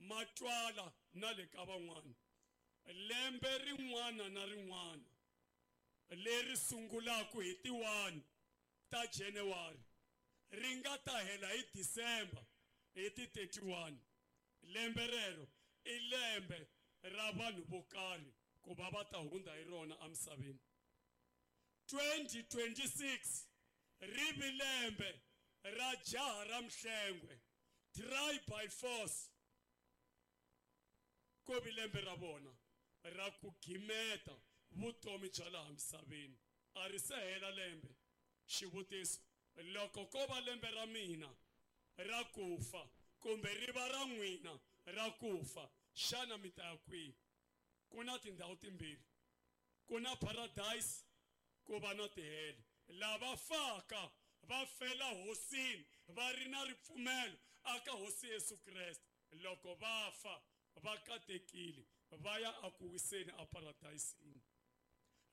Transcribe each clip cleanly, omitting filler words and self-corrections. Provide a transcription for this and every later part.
Ma twala na le ka van'wana. Lembe rin'wana na rin'wana leri sungulaka hi ti 1 ta January ri nga ta hela hi December hi ti 31, lembe rero i lembe ra vanhu vo karhi ku va va ta hundza hi rona emisaveni. 2026 ri vi lembe ra jaha ra Mhlengwe, try by force, ko vi lembe ra vona ra ku gimeta vutomi bya laha misaveni. A ri se hela lembe. Xivutiso, loko ko va lembe ra mina ra ku fa kumbe ri va ra n'wina ra ku fa, xana mi ta ya kwihi? Ku na tindhawu timbirhi, ku na paradise, ku va na tihele. Lava faka va fela hosini va ri na ripfumelo aka Hosi Yesu Kreste, loko va fa va katekile, va ya aku wiseni aparadayisini.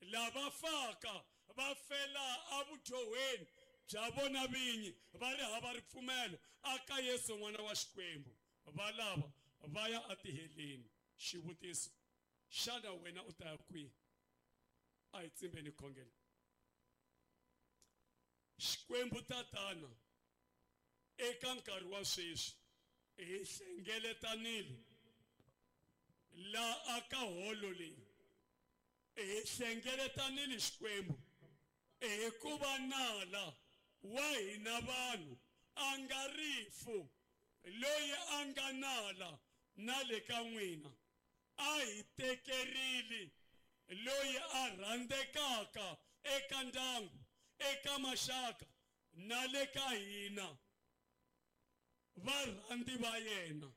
Lava faka va fela evudyohweni bya vona vinyi va ri hava ripfumelo aka Yesu n'wana wa Xikwembu, va lava va ya atiheleni. Xivutiso, xana wena u ta ya kwihi? A hi tsimbeni khongelo. Xikwembu Tatana, eka nkarhi wa sweswi hi hlengeletanile la aka holo leyi, hi hlengeletanile Xikwembu hikuva nala wa hina vanhu a nga rifu, loyi a nga nala na le ka n'wina a hi tekerile loyi a rhandzekaka eka ndyangu, eka maxaka na le ka hina varhandzi va yena.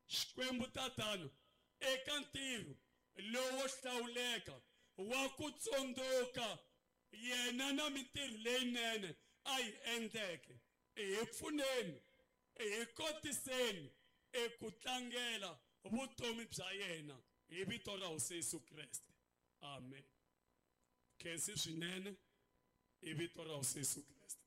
Xikwembu Tatana, eka ntirho lowo hlawuleka wa ku tsundzuka yena na mintirho leyinene a yi endleke, hi pfuneni, hi kotiseni eku tlangela vutomi bya yena hi vito ra Hosi Yesu Kreste. Amen. Khensi swinene hi vito ra Hosi Yesu Kreste.